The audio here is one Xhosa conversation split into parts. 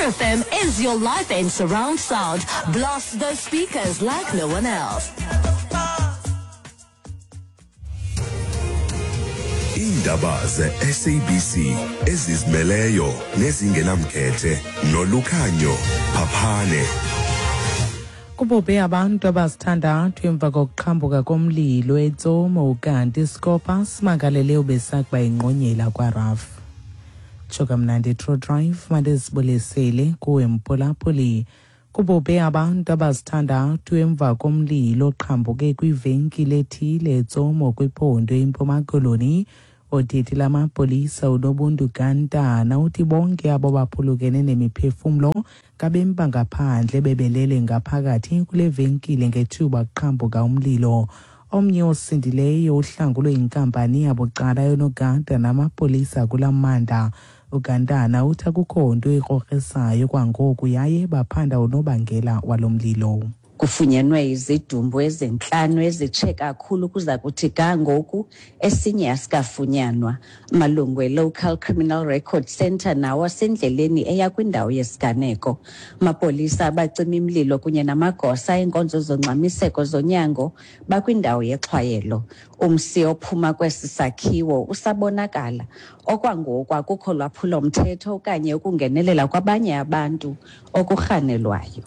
Metro FM is your life in surround sound. Blast those speakers like no one else. Iindaba ze-SABC ezizimeleyo nezingenamkhethe nolukhanyo Phaphane. Kubhubhe abantu abasithandathu emva kokuqhambuka komlilo eTsomo kanti iSkopa simangalele ubesakuba ingqonyela kwaRAF. Tsho kamnandi True Drive mandizibulisele kuwe mphulaphuli. Kubhubhe abantu abasithandathu emva komlilo oqhambuke kwivenkile ethile eTsomo kwiphondo iMpuma Koloni. Odidi lamapolisa uNobuntu Gantana uthi bonke abo baphulukene nemiphefumlo ngabemi bangaphandle bebelele ngaphakathi kule venkile ngethuba kuqhambuka umlilo. Omnye osindileyo uhlangulwe yinkampani yabucala yonogada namapolisa kula mmandla. UGantana uthi akukho nto ikrokrisayo kwangoku yaye baphanda unobangela walo mlilo. Kufunyenwe izidumbu ezintlanu ezitshe kakhulu kuza kuthi ga ngoku, esinye asikafunyanwa. Amalungu e-Local Criminal Record Centre nawo asendleleni eya kwindawo yesiganeko. Amapolisa, abacimi mlilo kunye namagosa eenkonzo zongxamiseko zonyango bakwindawo yexhwayelo. Umsi ophuma kwesi sakhiwo usabonakala. Okwangoku akukho lwaphulo-mthetho okanye ukungenelela kwabanye abantu okurhanelwayo.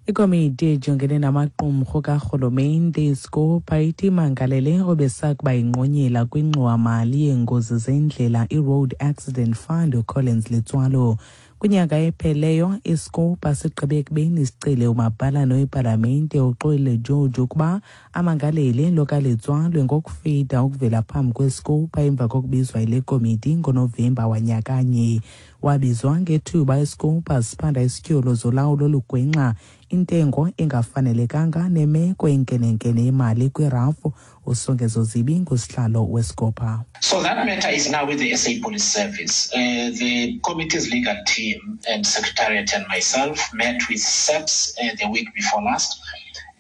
Ikomiti ejongene namaqumrhu karhulumente iScopa ithi imangalele obesakuba ingqonyela kwingxowamali yeengozi zendlela iRoad Accident Fund uCollins Letsoalo. Kwinyanga epheleyo iScopa sigqibe ekubeni sicele umabhalane wepalamente uXolile George ukuba amangalele lo kaLetsoalo ngokufida ukuvela phambi kweScopa emva kokubizwa yile komiti ngoNovemba wanyakanye. Wabizwa ngethuba iScopa siphanda isityholo zolawulo olugwenxa, intengo engafanelekanga nemeko enkenenkene yemali kwirafu. USongezo Zibi ngusihlalo weScopa. So that matter is now with the SA Police Service. The committee's legal team and secretariat and myself met with SAPS the week before last,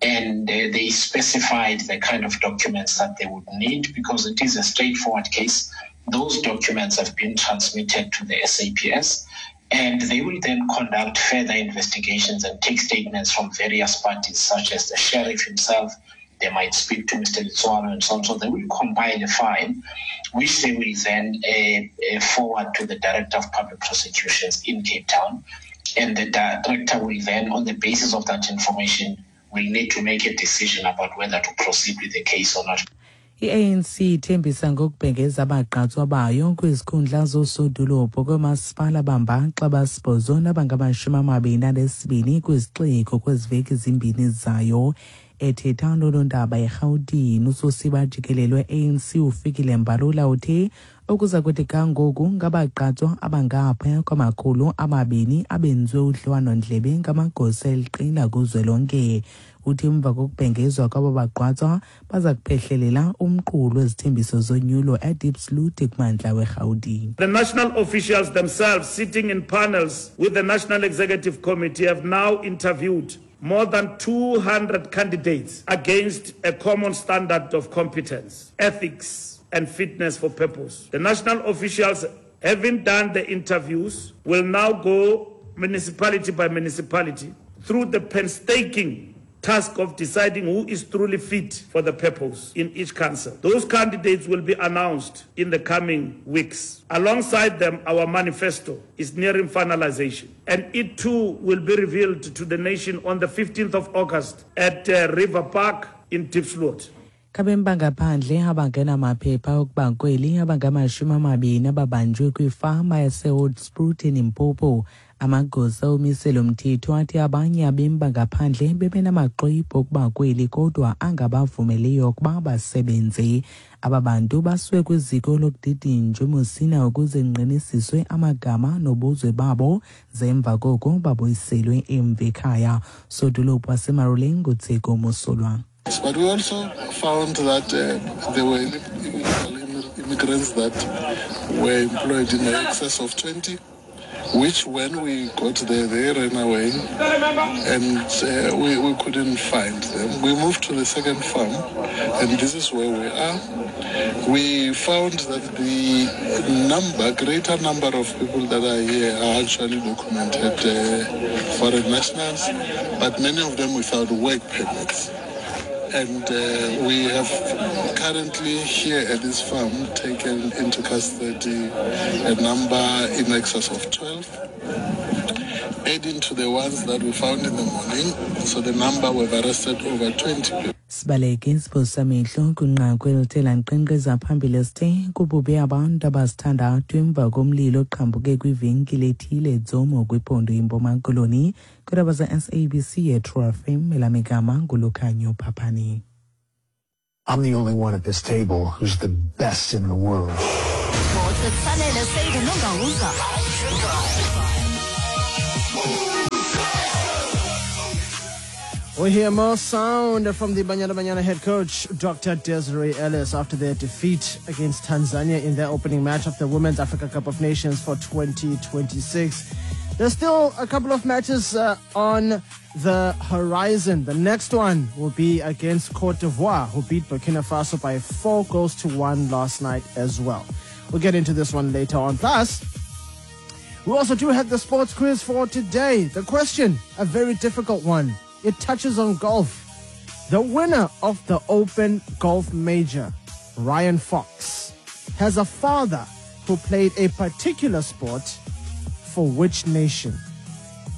and they specified the kind of documents that they would need because it is a straightforward case. Those documents have been transmitted to the SAPS, and they will then conduct further investigations and take statements from various parties, such as the sheriff himself. They might speak to Mr. Letsoalo and so on. So they will compile a file, which they will then forward to the Director of Public Prosecutions in Cape Town. And the director will then, on the basis of that information, will need to make a decision about whether to proceed with the case or not. I-ANC ithembisa ngokubhengeza abagqatswa bayo kwizikhundla zoosodolophu koomasipala bambaxa basibhozo nabangamashumi 22 kwizixeko kwezi veki zimbini zayo. Ethetha nonondaba eRhawutini, usosiba jikelele we-ANC uFikile Mbalula uthe okuza kuthi ga ngoku ngabagqatswa abangaphaya kwama-200 abenziwe udliwano-ndlebe ngamagosa eliqela kuzwelonke. Uthi emva kokubhengezwa kwabo bagqatswa baza kuphehlelela umqulu wezithembiso zonyulo eDiepsloot kumantla weRhawutini. The national officials themselves sitting in panels with the National Executive Committee have now interviewed more than 200 candidates against a common standard of competence, ethics, and fitness for purpose. The national officials, having done the interviews, will now go municipality by municipality through the painstaking task of deciding who is truly fit for the purpose in each council. Those candidates will be announced in the coming weeks. Alongside them, our manifesto is nearing finalization, and it too will be revealed to the nation on the 15th of August at River Park in Diepsloot. Ngabemi bangaphandle abangenamaphepha okuba kweli abangama-20 ababanjwe kwifama yaseHoedspruit eLimpopo. Amagosa omiselo mthetho athi abanye abemi bangaphandle bebenamaxwebhu okuba kweli kodwa angabavumeliyo ukuba basebenze. Aba bantu basiwe kwiziko lokudidinjwa eMusina ukuze kungqinisiswe amagama nobuzwe babo, ze emva koko babuyiselwe emva ekhaya. Sodolophu waseMaruleng uTseko Mosolwa. But we also found that there were illegal immigrants that were employed in excess of 20. Which when we got there, they ran away and we couldn't find them. We moved to the second farm, and this is where we are. We found that the greater number of people that are here are actually documented foreign nationals, but many of them without work permits. And we have currently here at this farm taken into custody a number in excess of 12, adding to the ones that we found in the morning. So the number we've arrested over 20 people. Sibaleke isiphosamehlo kwinqaku elithe lankqenkqeza phambili esithe kubhubhe abantu abasithandathu emva komlilo oqhambuke kwivenkile ethile eTsomo kwiphondo iMpuma Koloni. Kwiindaba ze-SABC yeTrue FM, elamigama nguLukhanyo Phaphani. I'm the only one at this table who's the best in the world. Sports with Sanele Sedu Nongauza. We hear more sound from the Banyana Banyana head coach, Dr. Desiree Ellis, after their defeat against Tanzania in their opening match of the Women's Africa Cup of Nations for 2026. There's still a couple of matches on the horizon. The next one will be against Cote d'Ivoire, who beat Burkina Faso by 4-1 last night as well. We'll get into this one later on. Plus, we also do have the sports quiz for today. The question, a very difficult one. It touches on golf. The winner of the Open Golf Major, Ryan Fox, has a father who played a particular sport for which nation?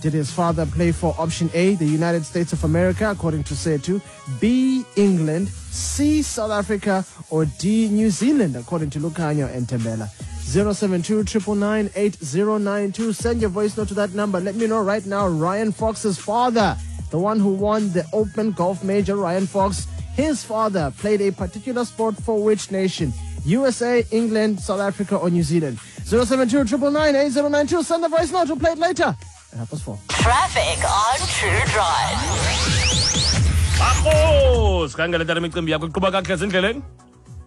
Did his father play for option A, the United States of America, according to Setu, B, England, C, South Africa, or D, New Zealand, according to Lukhanyo and Tembela? 072 999 8092. Send your voice note to that number. Let me know right now, Ryan Fox's father, the one who won the Open Golf Major, Ryan Fox, his father played a particular sport for which nation? USA, England, South Africa, or New Zealand? 072 999 8092. Send the voice note. We'll play it later. At 4:30. Traffic on True Drive. Akho, sikhangele tata imicimbi yakho iqhuba kakuhle ezindleleni.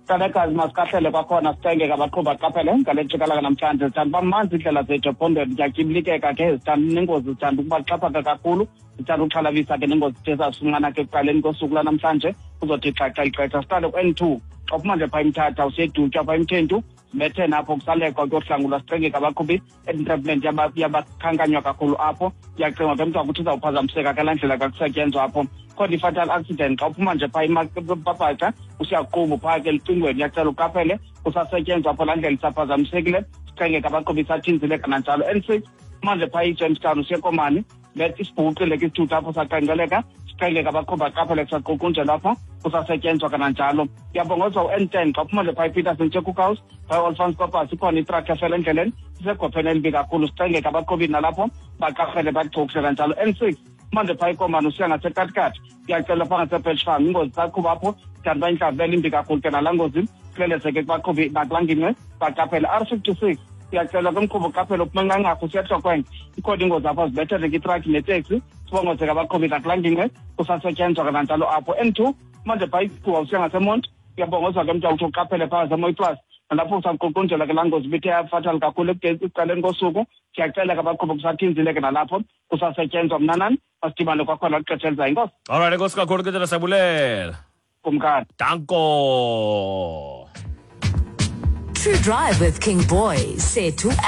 Tanekazi, masikahlele kwakhona sicenge abaqhuba qaphele ngale ntshikalaka namhlanje. Zithanda uba manzi iindlela zethu ephondweni, ziyatyibilikeka ke, zithanda nengozi, zithanda ukuba xhaphaka kakhulu, zithanda ukuxhalabisa ke nengozi zithe zafumana ke ekuqaleni kosuku lwanamhlanje. Kuzothi xaxa ixesha siqale ku-N2 xa uphuma nje phaa eMthatha usedutywa phaa eMthentu, zibethe napho kusalekwa kuyohlangulwa, sicengeka abaqhubi. Entrapment yabakhankanywa kakhulu apho, iyacengwa ke mntu ukuthi izawuphazamiseka ke laa ndlela kakusetyenzwa apho. Khona i-fatal accident xa uphuma nje phaa eMapapatha usiyaqumbu phaa ke elucingweni, iyacela uqaphele kusasetyenzwa apho, laa ndlela isaphazamisekile, sicengeka abaqhubi isathinzile kananjalo. N6 manje phaa iJamestown usekomani, let isibhuqile ke isithutha apho saqengeleka, sicengeka abaqhubi baqaphele kusaqukunjelwa apho, kusasetyenzwa kananjalo. Uyabongozwa u-N10 xa uphuma nje phaa iPeterson Cookhouse phaa i-Olifants Kopas, ikhona itrakhi efela endleleni, isegopheni elibi kakhulu, sicengeka abaqhubi nalapho baqaphele bachukushe kanjalo. N6 manje phaa ikomani usiya ngaseKatikati, uyacela phaa ngasePatch Farm, ingozi isaqhuba apho, kanti uba intlawulelo imbi kakhulu ke nalaa ngozi, kulelezeke kubaqhubi nakulaa ngingqi baqaphele. R56 uyacela kumqhubi uqaphele uphuma eNqanqarhu usiya eTlokweng, ikhona ingozi apho, zibethele ke itrakhi neteksi, sibongozeke abaqhubi nakulaa ngingqi kusasetyenzwa kananjalo apho. N2 manje phaa iGcuwa usiya ngaseMonti, uyabongozwa ke mntu uthi uqaphele phaa ngaseMoyplus, nalapho usaququnjelwa ke laa ngozi ibithe yafatal kakhulu ekuqaleni kosuku, siyacela ke abaqhubi kusathinzile ke nalapho kusasetyenzwa. Mnanani, masidibane kwakhona kwixesha elizayo. Inkosi. Alright, enkosi kakhulu ke tata, siyabulela. Kumkani. Danko. True Drive with King Boy, Setu.